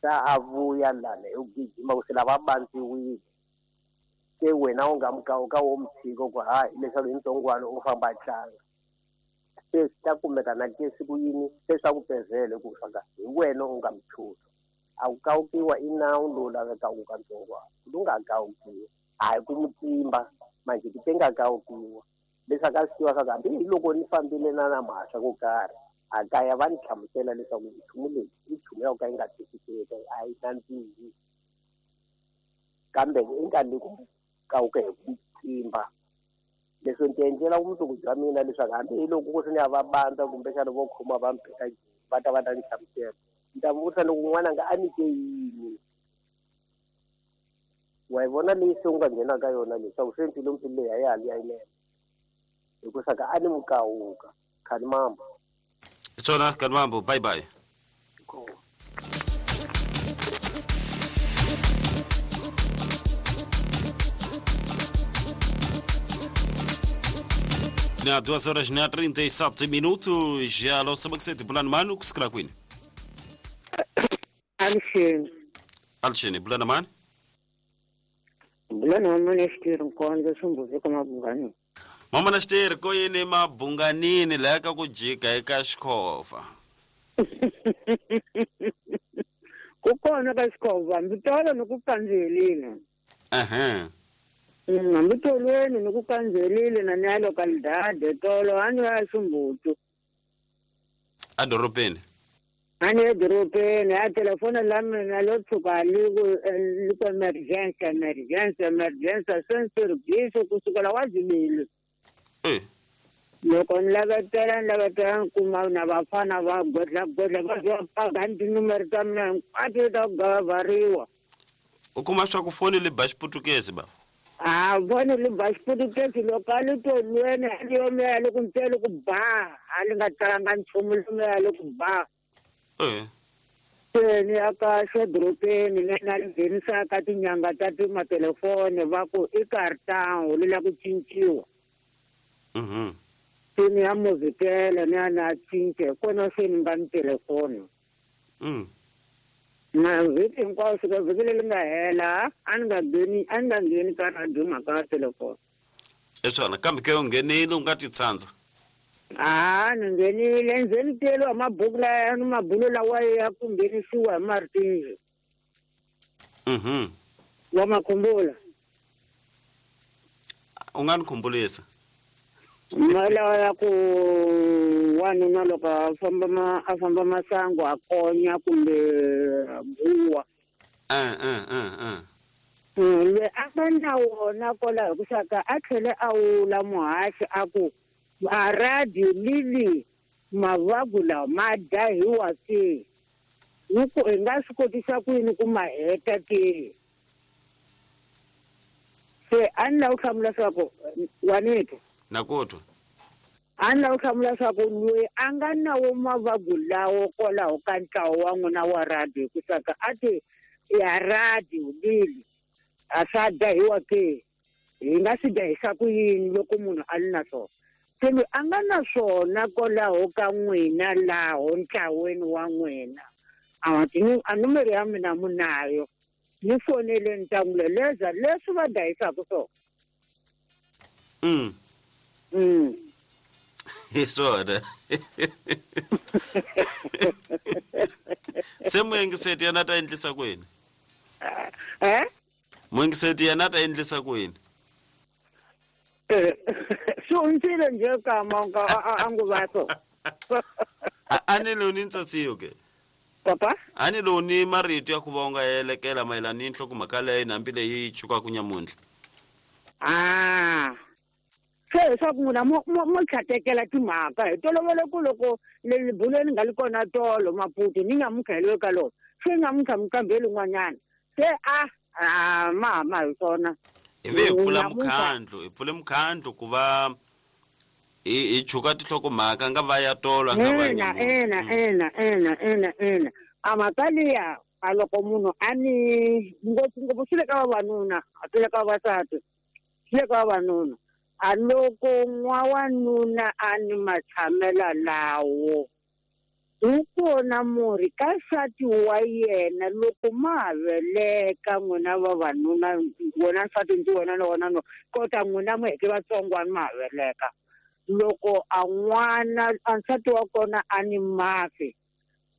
Ta a vuya lana hi ku gijima ku se lava bandziwile. Se wena u nga mukawuka wo mu tshika ku ha hileswaku hi ntsongwana u famba a tlanga. Se swi ta kumeka na ke siku yini se swa ku pezele ku swaka hi wena u nga mu chusa. A ku kawukiwa i nawu lowu lavekaka ka ntsongwana. Ku nga kawukiwa a hi ku mu tsimba manje ku te nga kawukiwa leswaku a swi tiva swa ku hambi hi loko ni fambile na na mhasa ko karhi a kaya va ni hlamusela leswaku nchumu leyi i nchumu ya ku ka yi nga twisiseki a yi nandzihi kambe i nkarhi ku kawuka hi ku tsimba leswi ni ti endlela vumundzuku bya mina leswaku hambi hi loko ku ri ni ya va bandza kumbexana vo khoma va mpheka va ta va ta ni hlamusela ni ta vutisa loko n'wana nga a nyike yini wa yi vona leyi se u nga nghena ka yona leswaku se mpfilumpfilu leyi a ya ha li ya yinene hikusa ka a ni mukawuka khani mambo Tsona Kanmambo, bye bye. Cool. Na 2 horas na 37 minutos, já lo sabakisete bulani mani kusikila kwini? Alisheni. Alisheni bulani mani? Bulani wa manestiri nkonzo sumbuzi ka mabungani. Mama na xiteri ko yini mabunganini laha ka ku jika eka xikhova. Ku kona ka xikhova hambi tolo ni ku kandzihelile. Ehe. Hambi tolweni ni ku kandzihelile na ni ya localidade tolo a ni ya Ximbutu. A dorobeni. A ni ya dorobeni a telefoni la mina lo tshuka li ku li ku emergency emergency emergency se ni service kusukela wa zibili. Loko ni lavetela ni lavetela ni kuma na vafana va godla godla va va paka ni tinumere ta mina hinkwato ta ku gavariwa. U kuma swa ku foni li ba xiputukezi ba? A foni li ba xiputukezi loko a li tolweni a li yomeya li ku mpele ku ba a li nga talanga nchumu lomeya li ku ba. Se ni ya ka xedorobeni ni na li nghenisaka tinyanga ta timatelefoni va ku i kartango li la ku cinciwa. Se ni ya muvhikela ni ya na cinca hi kona se ni nga ni telefoni. Na vhiki hinkwayo fika vhiki leri nga hela a ni nga ngheni a ni nga ngheni ka radio mhaka ya telefoni. I swona kambe ke u nghenile u nga ti tsandza. A ni nghenile nze ni tiyeliwa mabhuku laya ni mabulo lawa ya ku nghenisiwa hi martinzi. Wa ma khumbula? U nga ni khumbulisa. Lawa ya ku wanuna loko a famba ma a famba masangu a konya kumbe buwa. Loyi a nga na wona kwalaho hi ku saka a tlhele a wula muhaxi a ku a radio lili mavagu lawa ma dahiwa ke hi ku hi nga swi kotisa ku yini ku ma heta ke. Se a ni lava ku hlamula swa ku wanito. Na ku twa. A ni lava ku hlamula swa ku loyi a nga na wo mavagu lawo kwalaho ka ntlawa wa n'wina wa radio hi ku saka a ti ya radio lili a swa dahiwa ke hi nga swi dahisa ku yini loko munhu a li na swona. Se loyi a nga na swona kwalaho ka n'wina laho ntlaweni wa n'wina a nomoro ya mina mu nayo ni fonele ni ta n'wi leleza leswi va dahisaka swona. Hi swona. Se muyengiseti yena ta endlisa ku yini? Muyengiseti yena ta endlisa ku yini? Swi hundzile njhe kama a nguva so. A ni lowu ni ntsasiyo ke? Papa? A ni lowu ni marito ya ku va u nga elekela mayelana ni nhlokomhaka leyi hambi leyi chukaka nyamuntlha. Se leswaku n'wina mo tlhatekela timhaka hi tolovele ku loko le bulweni nga li kona tolo Maputo ni nyamuntlha hi le ka lona se nyamuntlha mi lin'wanyana se a ma hama hi swona. Hi ve hi pfula mukhandlu hi pfule mukhandlu ku va hi chuka tinhlokomhaka nga va ya tolo nga va ina ina ina ina ina ina a mhaka liya a loko munhu a ni ngopfungopfu swi le ka vavanuna a swi le ka vavasati swi le ka vavanuna a loko n'wawanuna a ni matshamela lawo Wu kona murhi ka nsati wa yena loko ma ha veleka n'wina vavanuna, wena nsati ndzi wena na wena no kota n'wina mi heke vatsongwana ma ha veleka. Loko a n'wana a nsati wa kona a ni mafi,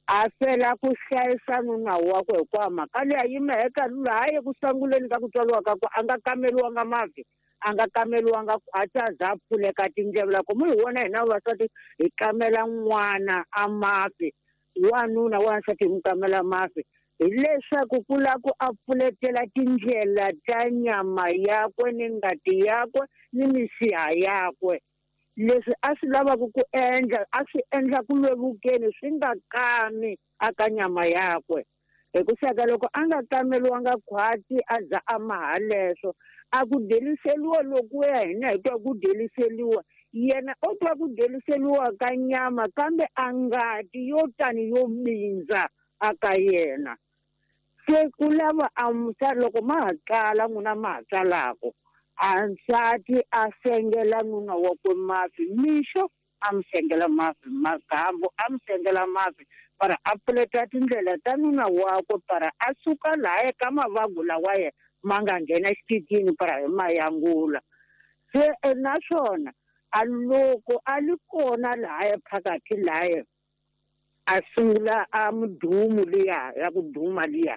a fela ku hlayisa nuna wakwe hikuva mhaka leyi a yima eka laha eku sunguleni ka ku tswariwa ka ku a nga kameriwanga mafi, a nga kameriwanga khwatsi a za a pfuleka tindleve. Loko mu hi vona hina vavasati hi kamela n'wana a mafi, wanuna wansati hi n'wi kamela mafi, hileswaku ku lava ku a pfuletela tindlela ta nyama yakwe ni ngati yakwe ni misiha yakwe. Leswi a swi lavaka ku endla a swi endla ku vevukeni swi nga kami aka nyama yakwe. Hikuva loko a nga kameriwanga khwatsi a za a maha leswo, a ku deliseliwa lokuya hina hi twa ku deliseliwa, yena o twa ku deliseliwa ka nyama kambe a ngati yo tani yo bindza aka yena. Se ku lava a loko ma ha tsala n'wina ma ha tsalaka, a nsati a sengela nuna wakwe mafi mixo, a mi sengela mafi magambu, a mi sengela mafi para a pfuleta tindlela ta nuna wakwe para a suka laha eka mavabyi lawa yena ma nga nghena xititini para hi mayangula. Se naswona a loko a li kona lahaya phakathi lahaya a sungula a mudumu liya ya ku duma liya,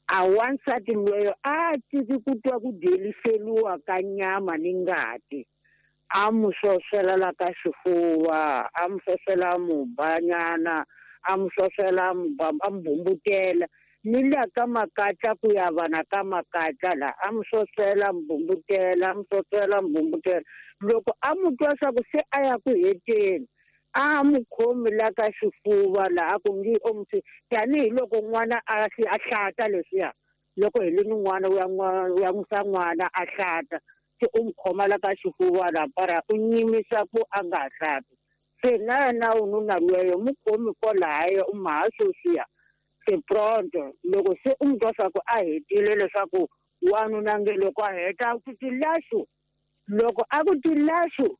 a wansati loyo a tiki ku twa ku deliseliwa ka nyama ni ngati, a mu swoswela la ka xifuva, a mu swoswela mubanyana, a mu swoswela a mu bumbutela ni la ka makatla ku ya vana ka makatla la, a mu swoswela mubumbutela, a mu swoswela mubumbutela. Loko a mu twa swa ku se a ya ku heteni, a mu khomi la ka xifuva laha ku ngi omusi tanihiloko n'wana a hlata leswiya, loko hi li ni n'wana u ya n'wisa n'wana a hlata, se u mu khoma la ka xifuva la para u nyimisa ku a nga ha hlati. Se na yena ununa lweyo mu khomi kwalahayo u maha sweswiya se pronto. Loko se u mu twa swa ku a hetile leswaku wanuna nge loko a heta a ku tilaxu, loko a ku tilaxu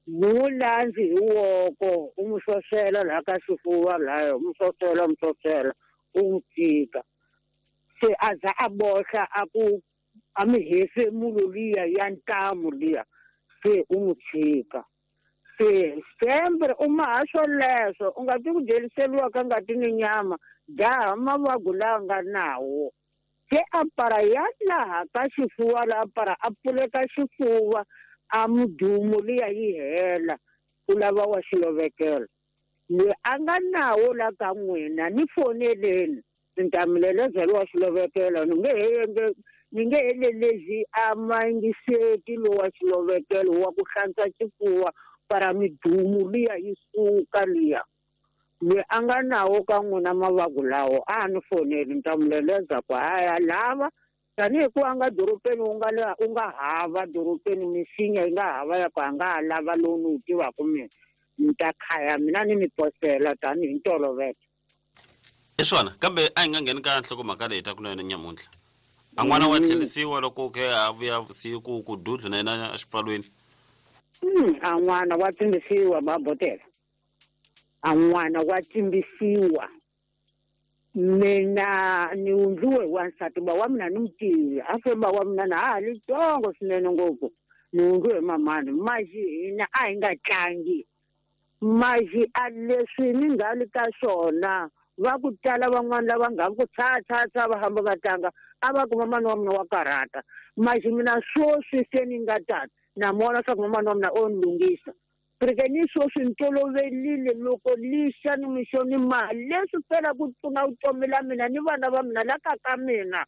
mulandzi hi woko u mu swoswela laha ka xifuva lahaya, u mu swoswela, mu swoswela, u n'wi tshika. Se a za a bohla a ku a mi hefemulo liya ya ntamu liya, se u n'wi tshika. Se sempre u maha swoleswo, u nga ti ku deliseliwa ka ngati ni nyama, jaha mavabyi lawa nga nawo. Se a para ya laha ka xifuva laha para a pfuleka xifuva, a mudumo liya yi hela, u lava wa xilovekelo. Loyi a nga nawo la ka n'wina ni foneleni, ni ta mi lelezela wa xilovekelo, ni nge he lelezi a mangiseti lowa xilovekelo wa ku hlantswa xifuva para midumo liya yi suka liya. Loyi a nga nawo ka n'wina mavabyi lawo a ni foneli, ni ta mi leleza ku haya lava tanihi ku a nga dorobeni u nga hava dorobeni misinya yi nga hava ya ku a nga ha lava lowu ni wu tivaka mina, ni ta khaya mina ni mi posela tanihi ntolovelo. I swona, kambe a hi nga ngheni ka nhlokomhaka leyi ta ku na yona nyamuntlha. A n'wana wa tlherisiwa loko ke a vuya vusiku ku dudlu na yena exipfalweni. A n'wana wa tsimbisiwa babotela, a n'wana wa tsimbisiwa. Mina ni wundliwe hi wansati ba wa mina ni mutivi, a fe ba wa mina na ha li tsongo swinene ngopfu, ni wundliwe hi mamani. Maxi hina a hi nga tlangi, maxi a leswi ni nga li ka swona va ku tala van'wana lava nga ku tsha tsha tsha va hamba va tlanga, a va ku mamani wa mina wa karhata. Maxi mina swoswi se ni nga tata na mona swa ku mamani wa mina o ni lunghisa. Porque ni swoswi ni tolovelile loko lixa ni mixo ni mali leswi fela ku pfuna vutomi la mina ni vana va mina la ka ka mina.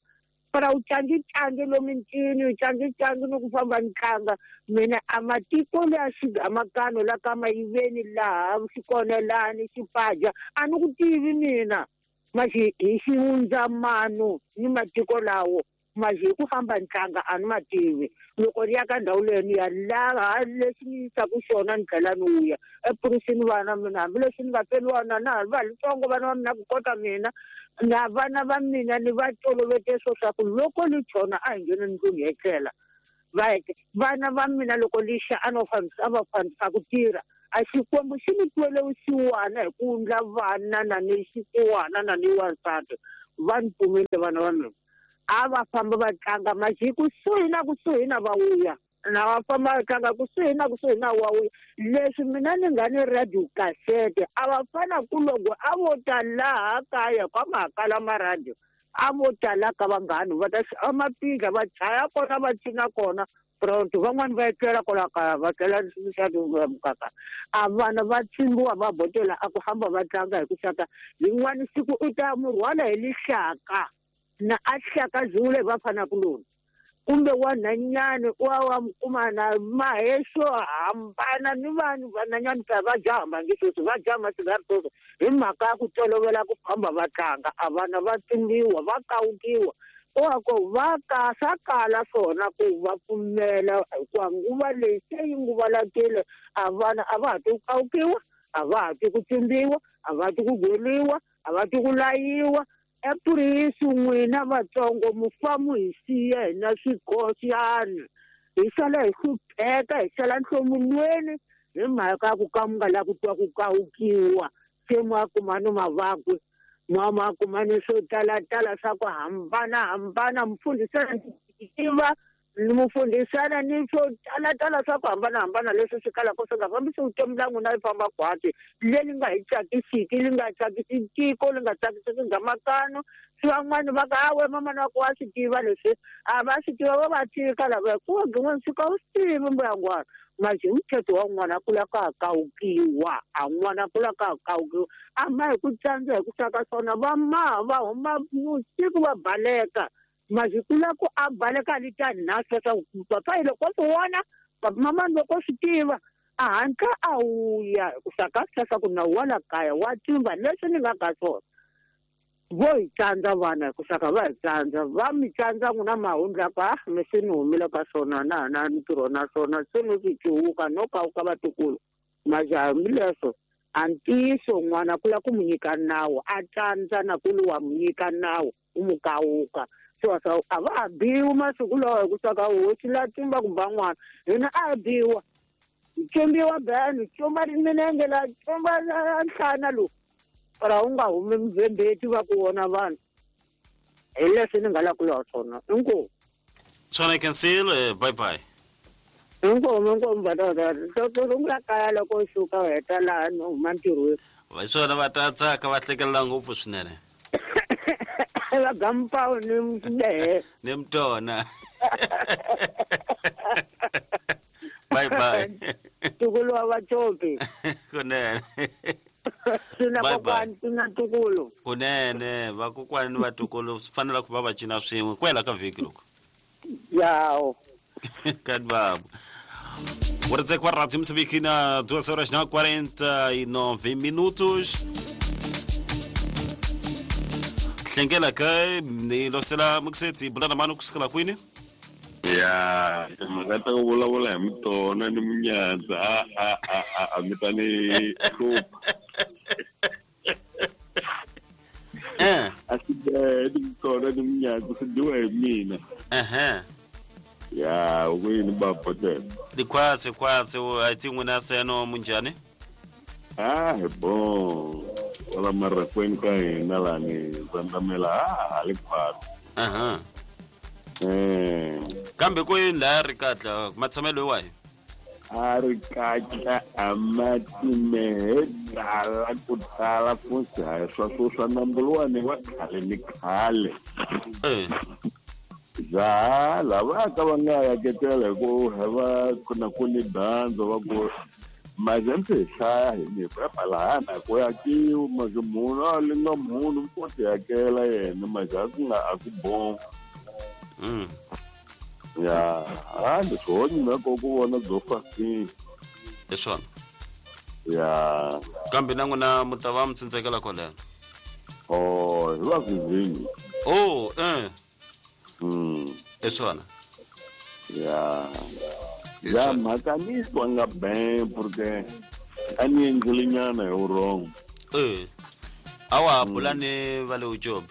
Para u tlangi-tlangi lomu ncini, u tlangi-tlangi ni ku famba ni tlanga. Mina a matiko leya xigamakano la ka mayiveni laha xikonelani xipaja a ni ku tivi mina. Maxi hi xihundzamano ni matiko lawo, maxi hi ku famba ni tlanga a ni ma tivi. Loko ni ya ka ndhawu leyi ni ya laha lexi ni yisaka xona ni tlhela ni vuya epurisini vana mina, hambileswi ni nga feriwa na na ha va litsongo vana va mina ku kota mina na vana va mina ni va tolovete swo swa ku loko li chona a hi ngheni ndlwini hi etlela. Va vana va mina loko lixa a no fambisa a va fambisa ku tirha A xikwembu xi ni twele vusiwana hi ku ndla vana na ni xisiwana na ni wansati. Va ni pfumile vana va mina. A va famba va tlanga maji kusuhi na kusuhi na va vuya. Na va famba va tlanga kusuhi na kusuhi na wa vuya. Leswi mina ni nga ni radio cassette a va fana ku loko a vo ta laha kaya kwa makala ma radio. A vo tala ka vanghani va ta amapindla va chaya kona va cina kona pronto van'wani va etlela kwala kaya va tlela mukaka a vana va tsimbiwa va botela a ku hamba va tlanga hi ku saka rin'wani siku u ta mu rhwala hi lihlaka na a hlaka zule va fana kuloni kumbe wanhanyani wa wa kuma na mahexo hambana ni vanhu vanhanyani ta va jaha nge sweswi va jaha masigari sweswi hi mhaka ya ku tolovela ku famba va tlanga a vana va tsimbiwa va kawukiwa ko va ka swa kala swona ku va pfumela hikuva nguva leyi se yi nguvalakile a vana a va ha ti ku kawukiwa a va ha ti ku tsimbiwa a va ti ku gweliwa a va ti ku layiwa. Epurisi n'wina vatsongo mufamu hi siya hina swikosiyani hi sala hi hlupheka hi sala nhlomulweni hi mhaka ya ku ka mi nga lavi ku twa ku kawukiwa se ma kuma ni mavabyi ma kuma ni swo talatala swa ku hambanahambana mufundhisana tiva mufundhisana ni swo talatala swa ku hambanahambana leswi swi kalaka swi nga fambisi vutomi bya n'wina yi famba khwatsi leri nga hi tsakisiki li nga tsakisi tiko li nga tsakisiki ngamakano swi van'wani va ka awe mamana wa ku wa swi tiva leswi a va swi tiva va va tika lava hikuva gin'wana swi ka u swi tivi mbuyangwana maji muthetho wa n'wana ku lava ka kawukiwa a n'wana ku lava ka kawukiwa a ma hi ku tsandza hi ku saka swona va maha va huma vusiku va baleka maji ku lava ku a baleka li ta nhasa swa papa hi loko swi vona mamani loko swi tiva a hatla a wuya ku saka swi ku nawu wa la kaya wa tsimba leswi ni nga ka swona vo hi tsandza vana hi ku saka va hi tsandza va mi tsandza n'wina mahundla ka mi se ni humile ka swona na na ntirho na swona se no swi cuwuka no kawuka vatukulu majaha hambileswo a ntiyiso n'wana ku lava ku mu nyika nawu a tsandza na ku li wa mu nyika nawu u mu kawuka so a va ha biwi masiku lawa hi ku saka hosi la tsimba ku ba n'wana hina a biwa tsimbiwa beni tsumba minenge la tsumba nhlana lowu para u nga humi mubvembeti va ku vona vanhu hi leswi ni nga la ku lava swona inkomu swona cancel bye bye inkomu inkomu vatata rungula kaya loko u suka u heta laha ni huma ntirhweni hi swona va ta tsaka va hlekelela ngopfu swinene va gampawu ni mdehe ni mtona bye bye tukulu wa vacopi kunene sina kokwani sina tukulu kunene vakokwani ni vatukulu swi fanele ku va va cina swin'we ku hela ka vhiki loko yawo kani babo Ora dizer que a Rádio Moçambique na 2 horas na 49 minutos. Hlengela ka ni losela mukuseti bulana mano kusukela kwini? Ya, mhaka ta ku vulavula hi mutona ni munyadza a mi ta ni hlupha. A swi ni mutona ni munyadza swi dyiwa hi mina. Ya, ku yini babotela? Likhwatse khwatse a ti n'wina seno munjhani? Ah, hi bon. Wala marakweni ka hina lani zandamela ha li khwatse. Kambe ku yini laha ri katla matshamelo wahi? A ri katla a matimehe tala ku tala futhi hayi swa swa nambu luwani wa khale ni khale. Ja lava ka va nga yaketela hi ku va ku na ku ni dyandza va ku maje mse hi hlaya hi ni lahana ku yakiwa maje munhu a li nga munhu ko ti yakela yena maje a ku nga a ku bon. Ya, a ni swona na ku vona byo fasini. Hi swona. Ya. Kambe na n'wina mu ta va mi tsindzekela kwaleno. Oh, hi va kuzini. Oh, Hi swona. Ya. Ya mhaka ni twa nga ben porque a ni endlelinyana hi wrong. A wa ha bula ni va le Ujobe?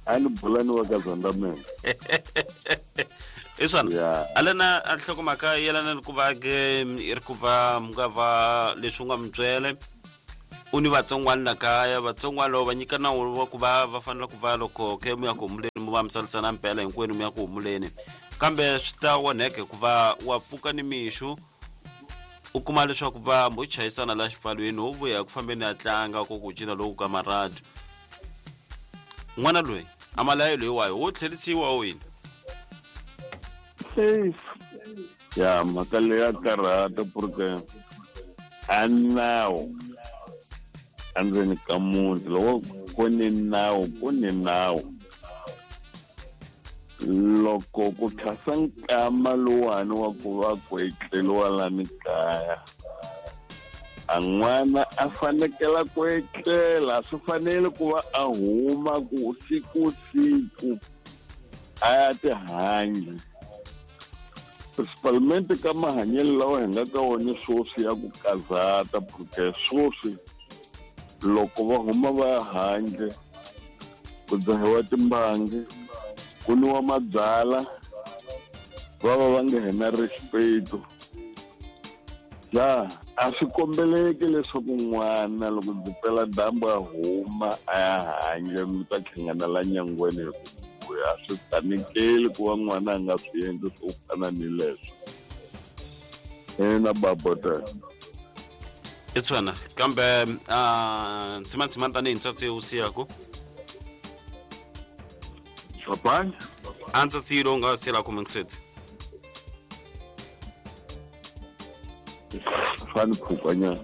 A ni bula ni va ka Zandamela. I swona alena a nhlokomhaka yelana ni ku va ke i ri ku va mi nga va leswi u nga mi byele u ni vatsongwana la kaya vatsongwana loko va nyika nawu wa ku va va fanele ku va loko ke mu ya ku humuleni mu va mi salisana mpela hinkwenu mu ya ku humuleni kambe swi ta onheka hikuva wa pfuka ni mixo u kuma leswaku va mo chayisana la xipfalweni wo vuya ku fambeni a tlanga ko ku cina loku ka maradi n'wana loyi a malayo loyiwayo wo tlherisiwa o yini? Ya mhaka leyi ya karhata porque a nawu endzeni ka muti loko ku ni nawu ku ni nawu. Loko ku khasa nkama luwani wa ku va ku etleliwa lani kaya a n'wana a fanekela ku etlela swi fanele ku va a huma ku siku siku a ya tihanyi. Principalmente ka mahanyelo lawa hi nga ka wona sweswi ya ku kazata porque sweswi loko va huma va ya handle ku dzahiwa timbangi ku nwiwa mabyala va va va nga hena respect. Ja a swi kombeleki leswaku n'wana loko ndzi pela dyambu a huma a ya handle mi ta hlangana la nyangweni hi ku vuya. A swi fanekeli ku va n'wana a nga swi endli swo fana ni leswo. Ina babota. I swona kambe ntsimantsima tanihi ntsatsi wu siyaku Swapani? A ntsatsi lowu nga siyela mingiseti Fani phukanyana.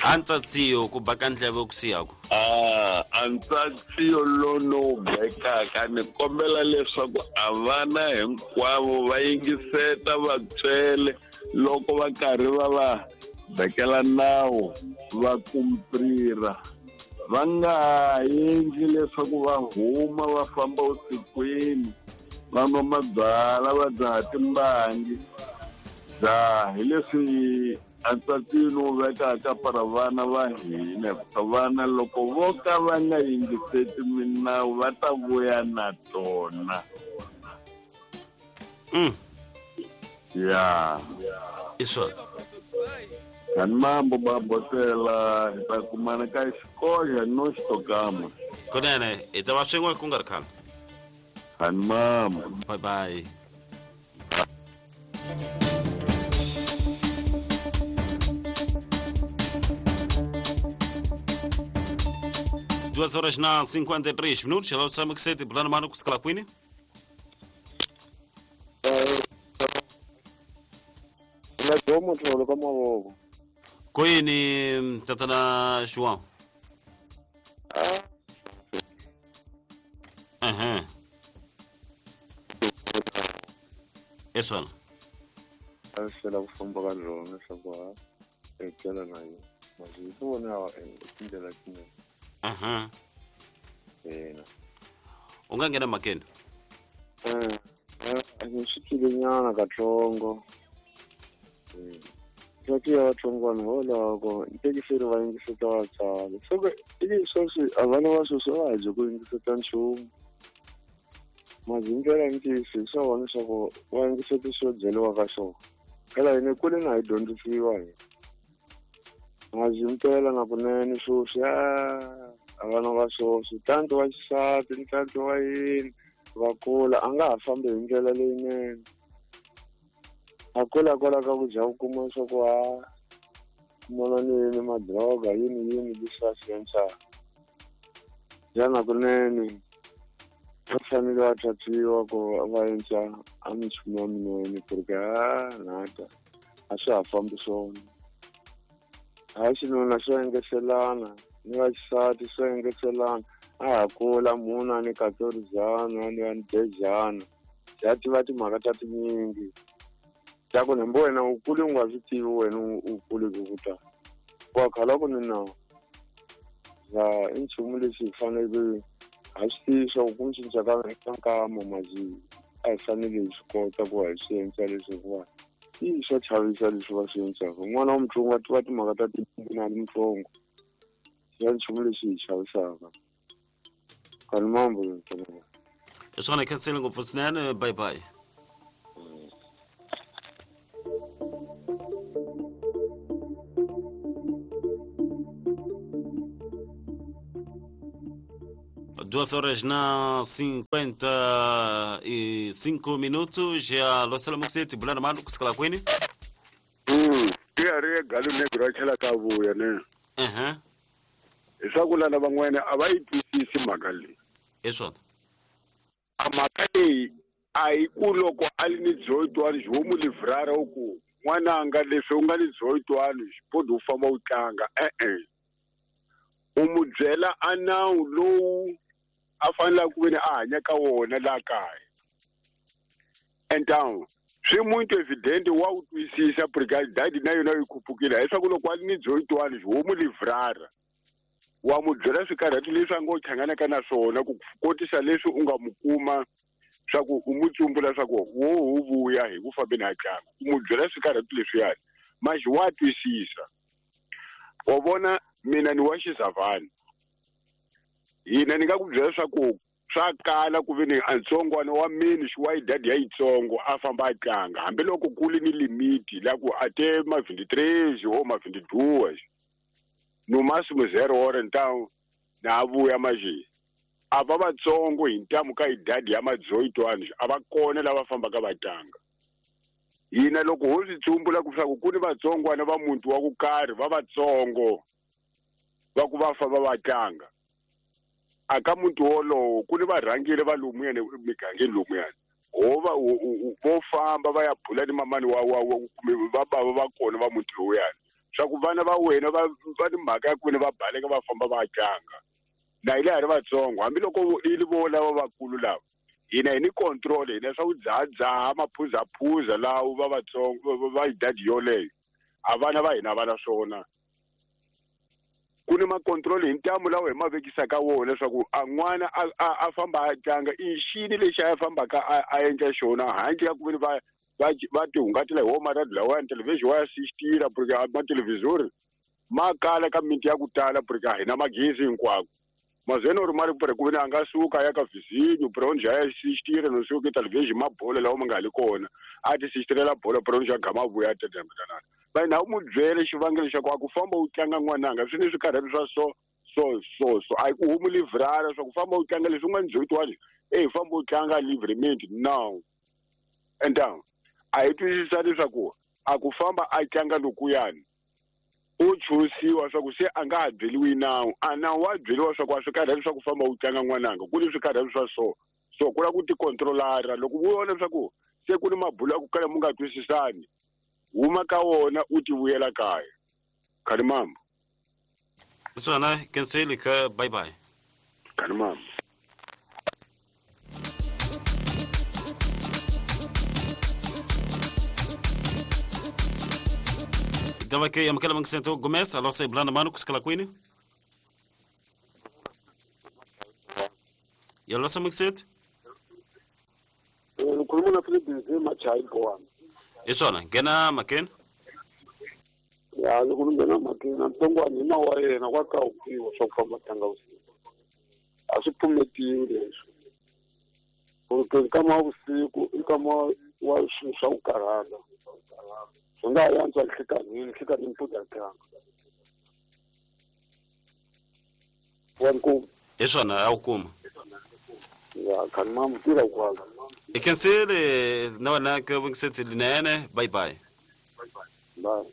A ntsatsiyo ku baka ndleve ku siyaku. A ntsatsiyo lono bekaka ni kombela leswaku a vana hinkwavo va yingiseta vatswele loko va karhi va va bekela nawu va kumprira va nga endli leswaku va huma va famba vusikwini va nwa mabyala va dzaha timbangi. Dzaha hi leswi a ntsatini wu vekaka para vana va hina hikuva vana loko vo ka va nga yingiseti minawu va ta vuya na tona. Ya. I swona. Kani mambo babotela hi ta kumana ka xikoxa no xitokama. Kunene hi ta va swin'we ku nga ri khale. Kani mambo. Bye bye. 2h53. Hello, Sam Xete, bulana mano kusukela kwini? La gomo tlholo ka mavoko. Kwini tatana João? Aham. É swona. A swi ku famba ka rona leswaku ha etlela na yona. Masi swi vona tindlela tinene. Aham. Ina. U nga nghena mhakeni? Swi twile nyana katsongo. Swa ya vatsongwana hikwalaho ntekiseri va yingiseta vatswari. Soko i sweswi a vana va sweswi a va ha dyi ku yingiseta nchumu. Masi hi ndlela ya ntiyiso hi swa vona leswaku va yingiseta swo byeriwa ka swona. Phela hina kule na hi dyondzisiwa hi. Masi impela na kunene sweswi a vana va sweswi tanti wa xisati ni tanti wa yini va kula a nga ha fambi hi ndlela leyinene. A kula kwala ka ku dya ku kuma leswaku ha kumana ni yini madroga yini yini leswi a swi endlaka. Xana kunene va fanele va tatiwa ku va endla a minchumu ya minene ku ri ke nata a swa ha fambi swona. Ha xinuna swo engetelana ni va xisati swo engetelana a ha kula munhu a ni 14 a ni 10 ya tiva timhaka ta tinyingi. Ta ku hambi wena u kule u nga swi tivi wena u kule ku ta. Wa khala ku ni nawu. Ya i nchumu lexi hi fanele ha swi tivi swa ku cinca ka nkama masi a hi fanele hi swi kota ku hi swi endla leswi hikuva i swa chavisa leswi va swi endlaka. N'wana wa mutsongo a tiva timhaka ta tinyingi na ri mutsongo. Ya nchumu lexi hi chavisaka. Kani mambo ntsena. Hi swona khensile ngopfu swinene. Bye bye. 2 horas na 55 minutos ya losela mukuseti bulana manu kusikala kwini. Tiyari galo negro a tlhela ka vuya ne. Leswaku lana van'wana a va yi twisisi mhaka leyi. Hi swona. A mhaka leyi a hi ku loko a li ni dzoyitwani xi homu livrara u ku n'wananga leswi u nga ni dzoyitwani xipodi u famba u tlanga e-e. U mu byela a nawu lowu a faneleke ku veni a hanya ka wona laha kaya. Entawu swi muito evidente wa wu twisisa brigade dadi na yona yi khupukile leswaku loko a li ni dzoyitwani homu livrara wa mu byela swikarhati leswi a ngo hlanganaka na swona ku kotisa leswi u nga mu kuma swa ku u mu tsumbula swa ku wo wu vuya hi ku fambeni ha tlanga u mu byela swikarhati leswiyani maxi wa twisisa. Wa vona mina ni wa xizavhani hina ni nga ku byela swa ku swa kala ku ve ni a ntsongwana wa mini xi wa idadi ya yitsongo a famba a tlanga hambiloko ku li ni limiti la ku a te ma 23 o ma 22 no máximo 0 hora então na vuya maxi a va vatsongo hi ntamu ka idadi ya madzoyitwani a va kona lava fambaka va tlanga. Hina loko ho swi tsumbula ku swa ku ku ni vatsongwana va muti wa ku karhi va vatsongo va ku va famba va tlanga a ka muti wolowo ku ni varhangeri va lomuyani migangeni lomuyani ho va vo famba va ya bula ni mamani wa kumbe va bava va kona va muti lowuyani swa ku vana va wena va ni mhaka ya ku veni va baleka va famba va tlanga na hi le ha ri vatsongo hambiloko i vo lava vakulu lava hina hi ni control hina swa ku dzahadzaha maphuzaphuza lawo va vatsongo va idadi yoleyo a vana va hina va na swona. Ku ni macontrol hi ntamu lawa hi ma vekisaka wona leswaku a n'wana a famba a tlanga i xini lexi a fambaka a endla xona handle ka ku veni va tihungatela hi wo maradi lawayani televhixini wa ya sixtira porque mathelevhizori ma kala ka miti ya ku tala porque a hina magezi hinkwako mazeno ri mali ku veni a nga suka a ya ka vizinyo bronze a ya sixtira no suka televhixini ma bolo lawa ma nga ha li kona a ti sixtirela bolo bronze a gama vuya tetemetanana va na u mu byele xivangelo xa ku a ku famba u tlanga n'wananga swi ni swikarhati swa so so so so a hi ku humu livrara swa ku famba u tlanga leswi u nga ni dzoyitwani e famba u tlanga livrement no and a hi twisisa leswaku a ku famba a tlanga lokuyani u chusiwa swa ku se a nga ha byeliwi nawu a nawu wa byeliwa swa ku a swi karhati swa ku famba u tlanga n'wananga ku ni swikarhati swa so so ku lava ku tikontrolara loko u vona leswaku se ku ni mabulo ya ku kala mu nga twisisani huma ka wona u ti vuyela kaya. Khalimambo. Swona kenseli ka bye bye. Khalimambo. Tava ke amukela mangisento Gomes alose blanda manu kusikala kwini. Yalosa mangisento? Ngikhuluma na Philip Machayi Gowani. Isona ngena makeni. Ya loko ni nghena makeni ntsongwana hi nawu wa yena kwa kawukiwa swa ku famba tlanga vusiku a swi pfumetiwi leswi porque nkama wa vusiku i nkama wa swilo swa ku karhala swi nga ha yantswa nhlikanhini nhlikanhini futhi a tlanga wa nkuma. Hi swona a wu kuma. Ya khani mamu tirha kwala. I khensile na wena ke vungiseti linene bye bye. Bye.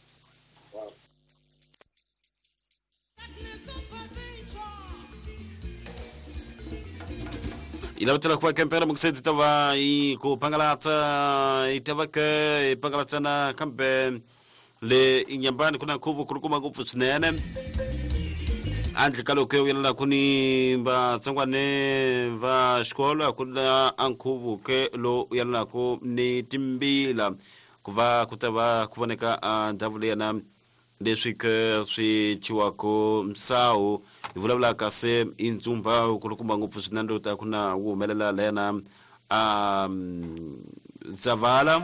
Ilavatela ku va kempela mungiseti tava i ku pangalatsa i tava ke i pangalatsana kambe le inyambani ku na nkhuvo ku ri kuma ngopfu swinene handle ka loko u yelela ku ni vatsongwane va xikolo ku na a nkhuvo ke lowu u yelelaka ni timbila ku va ku ta va ku voneka a ndhawu leyana leswi ke swi chiwaka misawu hi vulavulaka se i ntsumba wu kulukumba ngopfu swinene lowu ta ku na wu humelela leyana a Zavala.